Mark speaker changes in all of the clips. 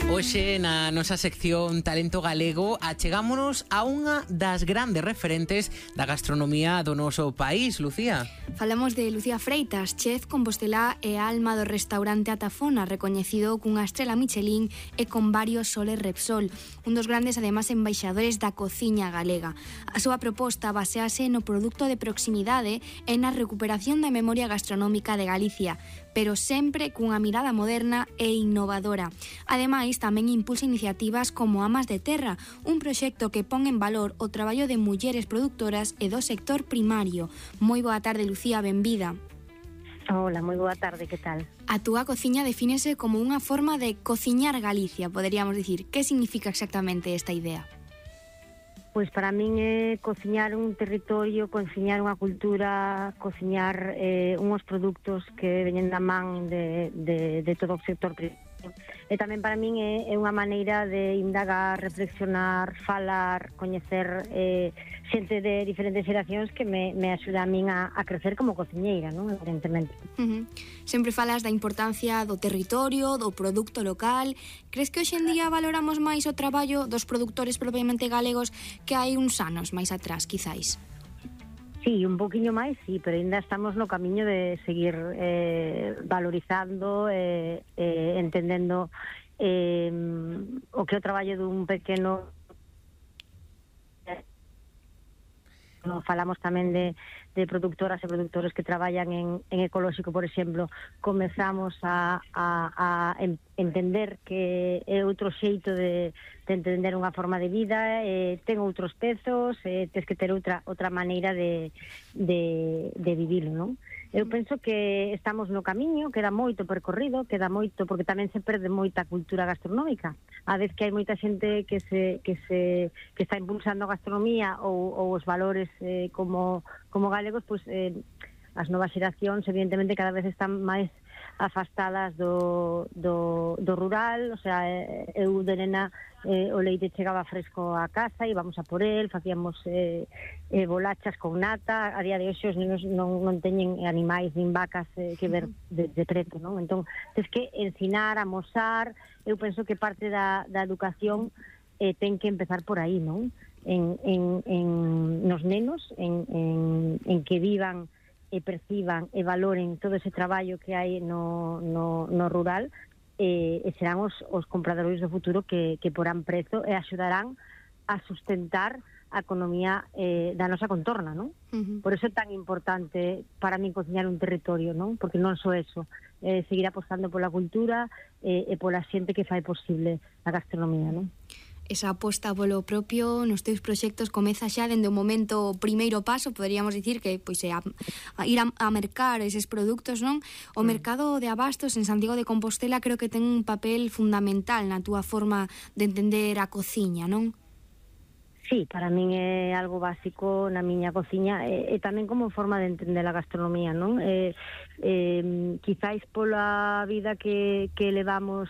Speaker 1: Hoxe na nosa sección Talento Galego achegámonos a unha das grandes referentes da gastronomía do noso país, Lucía.
Speaker 2: Falamos de Lucía Freitas, chef compostelá e alma do restaurante Atafona, recoñecido cunha estrela Michelin e con varios soles Repsol, un dos grandes ademais embaixadores da cociña galega. A súa proposta basease no produto de proximidade e na recuperación da memoria gastronómica de Galicia, pero sempre cunha mirada moderna e innovadora. Ademais, tamén impulsa iniciativas como Amas de Terra, un proxecto que pon en valor o traballo de mulleres productoras e do sector primario. Moi boa tarde, Lucía, benvida.
Speaker 3: Hola, moi boa tarde, que tal?
Speaker 2: A túa cociña defínese como unha forma de cociñar Galicia, poderíamos dicir. Que significa exactamente esta idea?
Speaker 3: Pois para min é cociñar un territorio, cociñar unha cultura, cociñar unhos produtos que veñen da man de todo o sector primario. E tamén para min é unha maneira de indagar, reflexionar, falar, coñecer xente de diferentes xeracións que me axuda a min a crecer como cociñeira, non? Evidentemente.
Speaker 2: Sempre falas da importancia do territorio, do produto local. Crees que hoxe en día valoramos máis o traballo dos produtores propiamente galegos que hai uns anos máis atrás, quizáis?
Speaker 3: Sí, un poquinho máis, sí, pero ainda estamos no camiño de seguir valorizando, entendendo o que é o traballo dun pequeno... Falamos tamén de productoras e productores que traballan en ecolóxico, por exemplo. Comezamos a entender que é outro xeito de entender unha forma de vida, ten outros pezos, tens que ter outra maneira de vivilo, non? Eu penso que estamos no camiño, queda moito percorrido, queda moito, porque tamén se perde moita cultura gastronómica. A vez que hai moita xente que está impulsando a gastronomía ou os valores como galegos, pois as novas xeracións evidentemente cada vez están máis afastadas do rural. O sea, eu de nena o leite chegaba fresco a casa, íbamos a por el, facíamos bolachas con nata. A día de hoxe os nenos non teñen animais nin vacas que ver de preto, non? Entón, tens que ensinar, amosar. Eu penso que parte da educación ten que empezar por aí, non? Nos nenos, en que vivan e perciban e valoren todo ese traballo que hai no rural, e serán os compradores do futuro que porán prezo e axudarán a sustentar a economía da nosa contorna, non? Por eso é tan importante para mí cociñar un territorio, non? Porque non só eso, seguir apostando pola cultura e pola xente que fai posible a gastronomía, non?
Speaker 2: Esa aposta polo propio nos teus proxectos comeza xa dende o momento primeiro paso, poderíamos dicir que pois é ir a mercar eses produtos, non? O mercado de abastos en Santiago de Compostela creo que ten un papel fundamental na túa forma de entender a cociña, non?
Speaker 3: Sí, para min é algo básico na miña cociña e tamén como forma de entender a gastronomía, non? Quizáis pola vida que levamos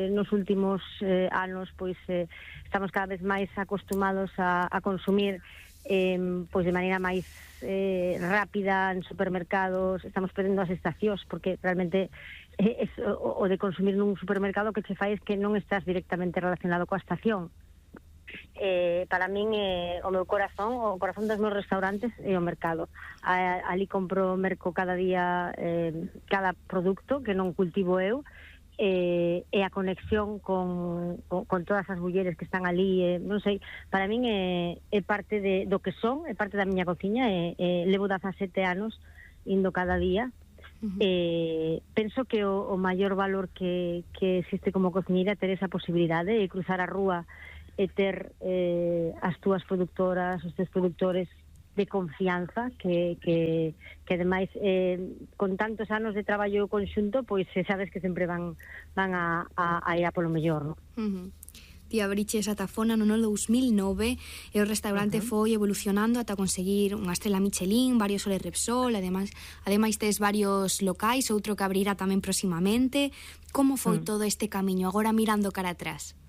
Speaker 3: nos últimos anos, pois estamos cada vez máis acostumados a consumir pois de maneira máis rápida en supermercados. Estamos perdendo as estacións porque realmente o de consumir nun supermercado que che fai es que non estás directamente relacionado coa estación. Para min o meu corazón, o corazón dos meus restaurantes é o mercado. Ali compro merco cada día cada produto que non cultivo eu, e a conexión con todas as mulleres que están ali, non sei, para min é parte do que son, é parte da miña cociña, levo 17 anos indo cada día. Penso que o maior valor que existe como cociñeira é ter esa posibilidade de cruzar a rúa e ter as túas productoras, os teus produtores de confianza que ademais con tantos anos de traballo conxunto, pois sabes que sempre van a ir a polo mellor, non?
Speaker 2: Ti abriches Atafona no 2009 e o restaurante foi evolucionando ata conseguir unha estrela Michelin, varios soles Repsol, ademais tes varios locais, outro que abrirá tamén proximamente. Como foi todo este camiño, agora mirando cara atrás?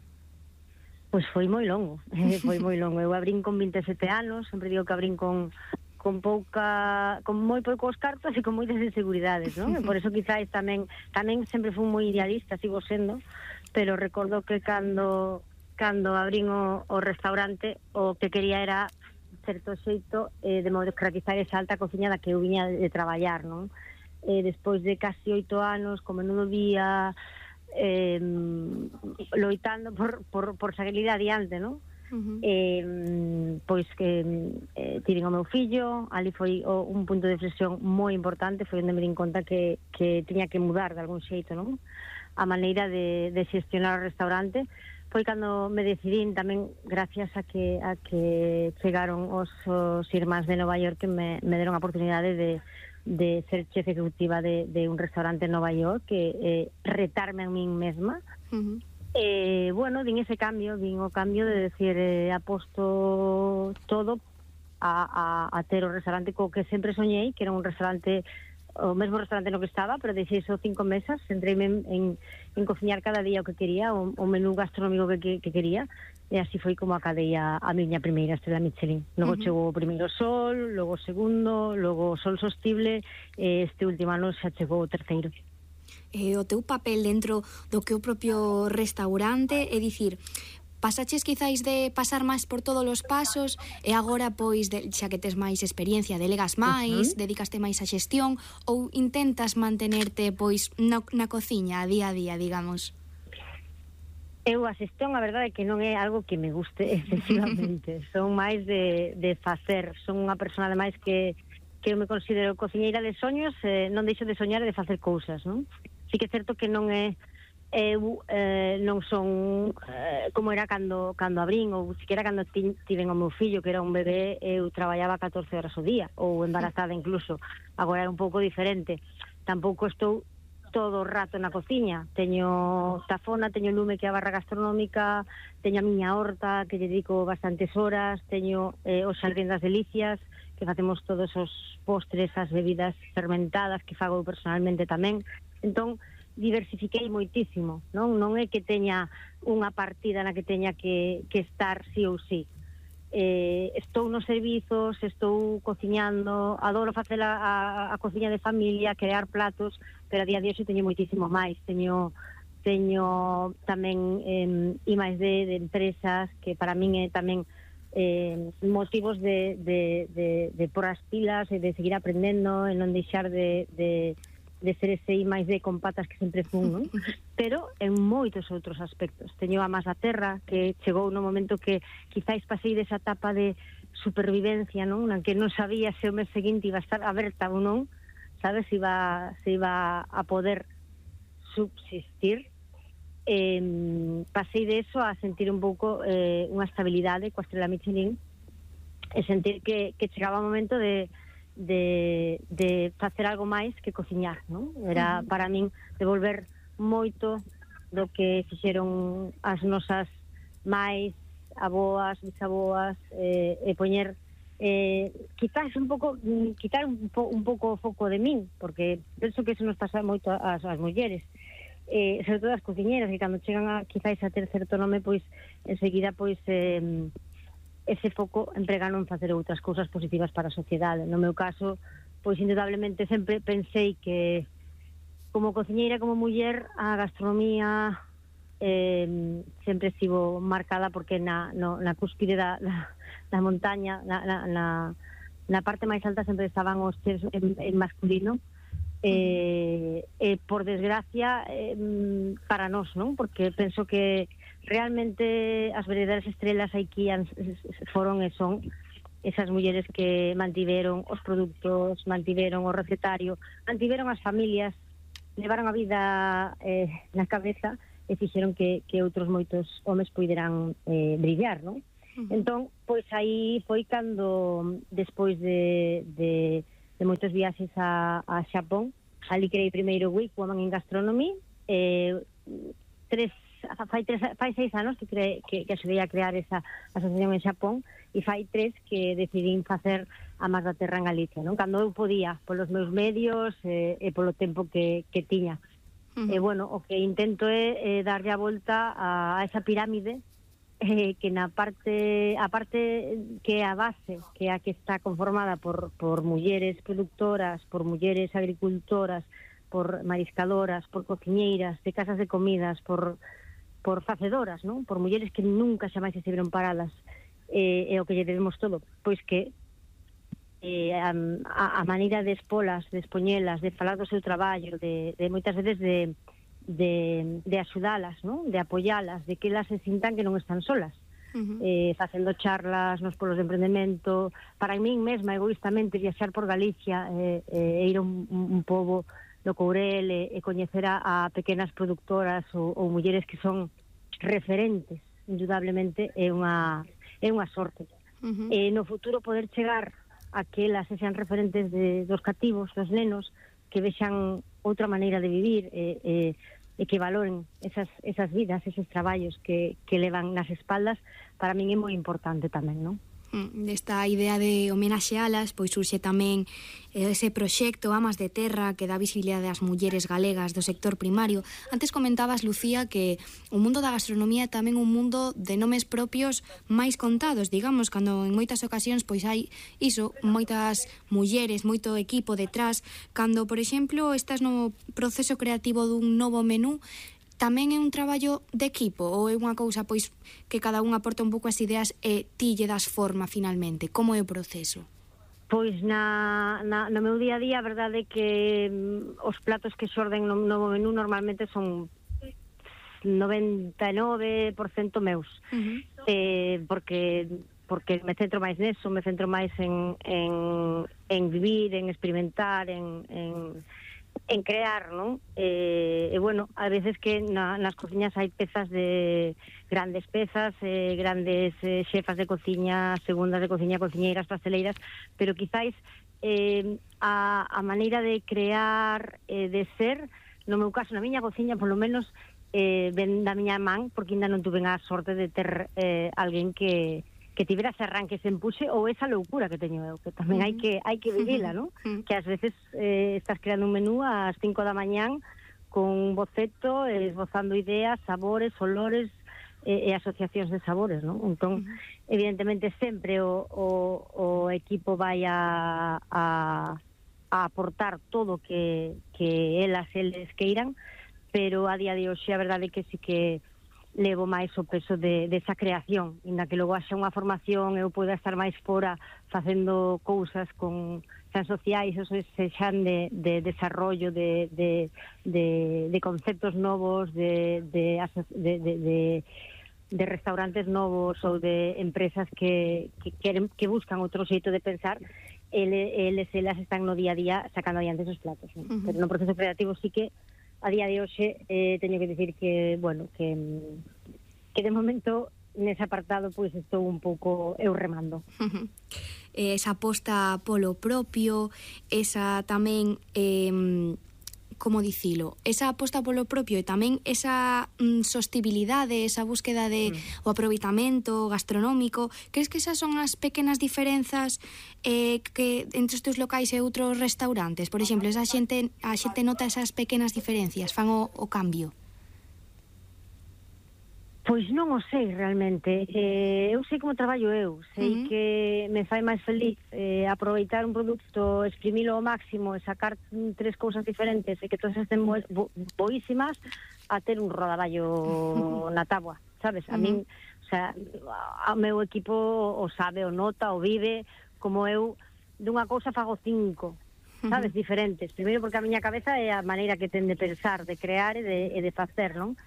Speaker 3: Pois foi moi longo, Eu abrín con 27 anos, sempre digo que abrín con moi poucos cartos e con moitas inseguridades, non? E por eso quizáis tamén sempre fui moi idealista, sigo sendo, pero recordo que cando abrín o restaurante, o que quería era certo xeito de democratizar esa alta cociña da que eu viña de traballar, non? Despois de casi 8 anos, como non día, loitando por salir adiante, non? Pois que tiven o meu fillo, ali foi un punto de inflexión moi importante, foi onde me din conta que tiña que mudar de algún xeito, non? A maneira de xestionar o restaurante. Foi cando me decidín tamén, gracias a que chegaron os irmáns de Nova York, que me deron a oportunidade de ser chef ejecutiva de un restaurante en Nova York, que retarme a min mesma. Bueno, vin ese cambio, vin o cambio de decir, aposto todo a ter o restaurante co que sempre soñei, que era un restaurante, o mesmo restaurante no que estaba, pero deixei só 5 mesas, entreime en cociñar cada día o que quería, o menú gastronómico que quería, e así foi como acadei a miña primeira estrela Michelin. Logo chegou o primeiro Sol, logo o segundo, logo o Sol Sostible, este último ano xa chegou o terceiro.
Speaker 2: O teu papel dentro do que o propio restaurante, é dicir, pasaches quizáis de pasar máis por todos os pasos e agora, pois, xa que tes máis experiencia, delegas máis, dedicaste máis á xestión, ou intentas mantenerte, pois, na cociña a día, digamos?
Speaker 3: Eu a xestión, a verdade é que non é algo que me guste excesivamente. Son máis de facer. Son unha persona, ademais, que eu me considero cociñeira de soños, non deixo de soñar e de facer cousas, non? Sí que é certo que non é non son como era cando abrín, ou siquiera cando tiven o meu fillo, que era un bebé, eu traballaba 14 horas ao día, ou embarazada incluso. Agora é un pouco diferente. Tampouco estou todo o rato na cociña. Teño tafona, teño lume, que é a barra gastronómica, teño a miña horta, que lle dedico bastantes horas, teño os xardín das delicias, que facemos todos os postres, as bebidas fermentadas, que fago personalmente tamén. Entón, diversifiquei moitísimo, non é que teña unha partida na que teña que estar sí ou sí. Estou nos servizos, estou cociñando, adoro facer a cociña de familia, crear platos, pero a día de hoxe teño moitísimo máis. Teño tamén imaxes de empresas que para min é tamén motivos de por as pilas e de seguir aprendendo e non deixar de ser ese máis de con patas que sempre fun, non? Pero en moitos outros aspectos. Teño a Más da Terra, que chegou no momento que quizáis pasei desa etapa de supervivencia, non? Na que non sabía se o mes seguinte iba a estar aberta ou non, sabes, se iba a poder subsistir. Pasei de eso a sentir un pouco unha estabilidade coa estrela Michelin e sentir que chegaba o momento de facer algo máis que cociñar, non? Era para min devolver moito do que fixeron as nosas máis, aboas, bisaboas, e poñer quizás un pouco quitar un pouco o foco de min, porque penso que eso nos pasa moito ás mulleres, sobre todo as cociñeras, que cando chegan quizás a ter certo nome, pois enseguida pois ese foco empregano en facer outras cousas positivas para a sociedade. No meu caso, pois indudablemente sempre pensei que como cociñeira, como muller, a gastronomía sempre estivo marcada porque na cúspide da montaña, na parte máis alta sempre estaban os chefs en masculino, por desgracia para nós, non? Porque penso que realmente as verdadeiras estrelas aquí foron e son esas mulleres que mantiveron os produtos, mantiveron o recetario, mantiveron as familias, levaron a vida na cabeza e fixeron que outros moitos homes puideran brillar, non? Entón, pois aí foi cando, despois de moitos viaxes a Xapón, ali creei primeiro Week Woman in Gastronomy, fai 6 anos que axudei a crear esa asociación en Xapón, e fai 3 que decidín facer a Más da Terra en Galicia, non? Cando eu podía, polos meus medios e polo tempo que tiña. E, bueno, o que intento é darlle a volta a esa pirámide, que a parte que é a base, que é a que está conformada por mulleres productoras, por mulleres agricultoras, por mariscadoras, por cociñeiras, de casas de comidas, por facedoras, non? Por mulleres que nunca xa máis estiveron paradas, e o que lle debemos todo, pois que a maneira de expolas, de expoñelas, de falar do seu traballo, de moitas veces de axudalas, non? De apoyalas, de que elas se sintan que non están solas. Facendo charlas nos polos de emprendemento, para min mesma egoístamente viaxar por Galicia e ir a un pobo do Courel e coñecer a pequenas productoras ou mulleres que son referentes, indudablemente é unha sorte. E no futuro poder chegar a que elas sexan referentes dos cativos, dos nenos, que vexan outra maneira de vivir e que valoren esas vidas, esos traballos que levan nas espaldas, para min é moi importante tamén, non?
Speaker 2: Desta idea de homenaxealas, pois surxe tamén ese proxecto Amas de Terra que dá visibilidade ás mulleres galegas do sector primario. Antes comentabas, Lucía, que o mundo da gastronomía é tamén un mundo de nomes propios máis contados, digamos, cando en moitas ocasións pois hai iso, moitas mulleres, moito equipo detrás. Cando, por exemplo, estás no proceso creativo dun novo menú, tamén é un traballo de equipo ou é unha cousa pois que cada un aporta un pouco as ideas e ti lle das forma finalmente? Como é o proceso?
Speaker 3: Pois no meu día a día a verdade é que os platos que xorden no novo menú normalmente son 99% meus, porque me centro máis neso, me centro máis en vivir, en experimentar, en crear, non? E bueno, a veces que nas cociñas hai pezas de grandes pezas, grandes xefas de cociña, segundas de cociña, cociñeiras, pasteleiras, pero quizáis a maneira de crear, de ser, no meu caso, na miña cociña, polo menos, ven da miña man, porque ainda non tuve a sorte de ter alguén que tivera ese arranque, ese empuxe ou esa loucura que teño eu, que tamén hai que vivila, non? Que ás veces estás creando un menú ás 5 da mañán con un boceto, esbozando ideas, sabores, olores e asociacións de sabores, non? Entón, evidentemente, sempre o equipo vai a aportar todo que eles queiran, pero a día de hoxe a verdade é que sí que levo máis o peso desa creación, inda que logo haxa unha formación eu poida estar máis fora facendo cousas con xan sociais, ou sexan de desarrollo de conceptos novos, de restaurantes novos ou de empresas que buscan outro xeito de pensar. Elas están no día a día sacando adiante esos platos, ¿no? Pero no proceso creativo sí que a día de hoxe teño que dicir que, bueno, que de momento nese apartado pois estou un pouco eu remando.
Speaker 2: Esa aposta polo propio, esa tamén como dicilo, esa aposta polo propio e tamén esa sostibilidade, esa búsqueda de o aproveitamento gastronómico, crees que esas son as pequenas diferenzas que entre os teus locais e outros restaurantes? Por exemplo, a xente nota esas pequenas diferencias, fan o cambio?
Speaker 3: Pois non o sei realmente, eu sei como traballo eu, sei que me fai máis feliz aproveitar un produto, exprimilo ao máximo e sacar tres cousas diferentes e que todas estén boísimas a ter un rodaballo na táboa, sabes? A min, o sea, o meu equipo o sabe, o nota, o vive, como eu dunha cousa fago 5, sabes? Diferentes, primeiro porque a miña cabeza é a maneira que ten de pensar, de crear e de facer, non?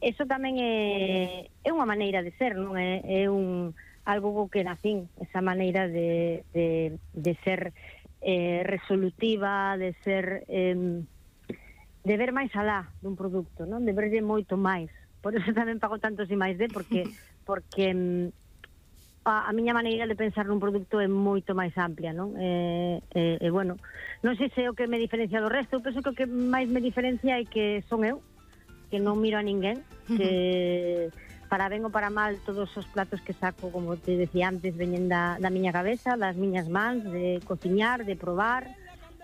Speaker 3: Eso tamén é unha maneira de ser, non? É algo que nacín, esa maneira de ser resolutiva, de ser de ver máis alá dun produto, non? De verlle moito máis. Por eso tamén pago tantos e máis porque a miña maneira de pensar nun produto é moito máis amplia, non? Bueno, non sei se é o que me diferencia do resto, eu penso que o que máis me diferencia é que son eu, que non miro a ninguén, que para ben ou para mal todos os platos que saco, como te decía antes, veñen da miña cabeza, das miñas mans, de cociñar, de probar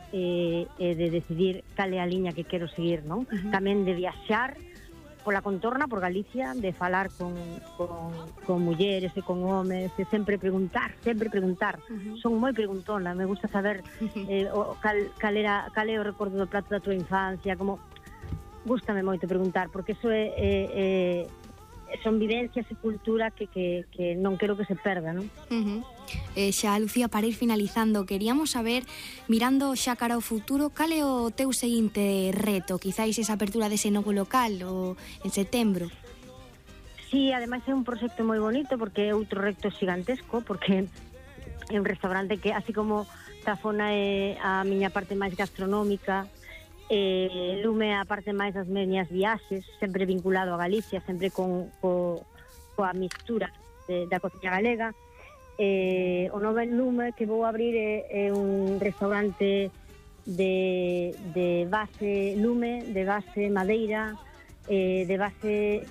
Speaker 3: e de decidir cal é a liña que quero seguir, non? Tamén de viaxar pola contorna, por Galicia, de falar con mulleres e con homes, e sempre preguntar. Son moi preguntona, me gusta saber cal é o recordo do plato da tua infancia, como gústame moito preguntar, porque eso son vivencias e cultura que non quero que se perda, non?
Speaker 2: Xa, Lucía, para ir finalizando, queríamos saber, mirando xa cara ao futuro, cal é o teu seguinte reto? Quizáis esa apertura dese novo local o en setembro?
Speaker 3: Sí, ademais é un proxecto moi bonito, porque é outro reto xigantesco, porque é un restaurante que, así como Tafona é a miña parte máis gastronómica, Lume a parte máis das miñas viaxes, sempre vinculado a Galicia, sempre coa mistura da cociña galega. O novo Lume que vou abrir é un restaurante de base lume, de base madeira, de base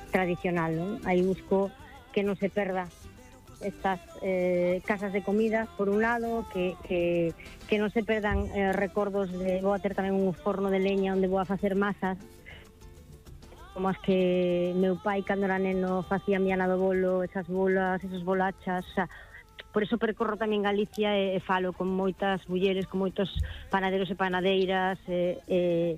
Speaker 3: tradicional, non? Aí busco que non se perda estas casas de comida, por un lado, que non se perdan recordos de... Vou a ter tamén un forno de leña onde vou a facer masas, como as que meu pai, cando era neno, facía miana do bolo, esas bolas, esas bolachas, o sea, por eso percorro tamén Galicia e falo con moitas mulleres, con moitos panaderos e panadeiras, e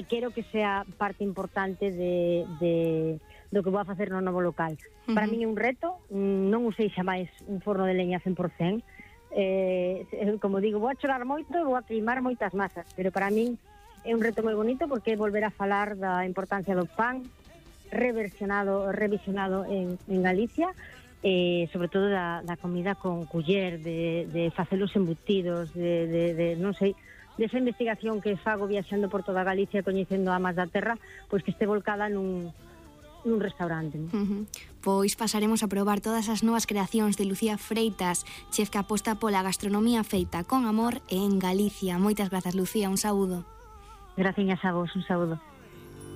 Speaker 3: quero que sea parte importante do que vou a facer no novo local. Para min é un reto, non usei xa máis un forno de leña 100%, como digo, vou a chorar moito, vou a queimar moitas masas, pero para min é un reto moi bonito, porque é volver a falar da importancia do pan revisionado en Galicia, e sobre todo da comida con culler, de facer os embutidos, de non sei, desa investigación que fago viaxando por toda Galicia, coñecendo amas da terra, pois que este volcada nun restaurante.
Speaker 2: Pois pasaremos a probar todas as novas creacións de Lucía Freitas, chef que aposta pola gastronomía feita con amor en Galicia. Moitas grazas, Lucía, un saúdo.
Speaker 3: Graciñas a vos, un saúdo.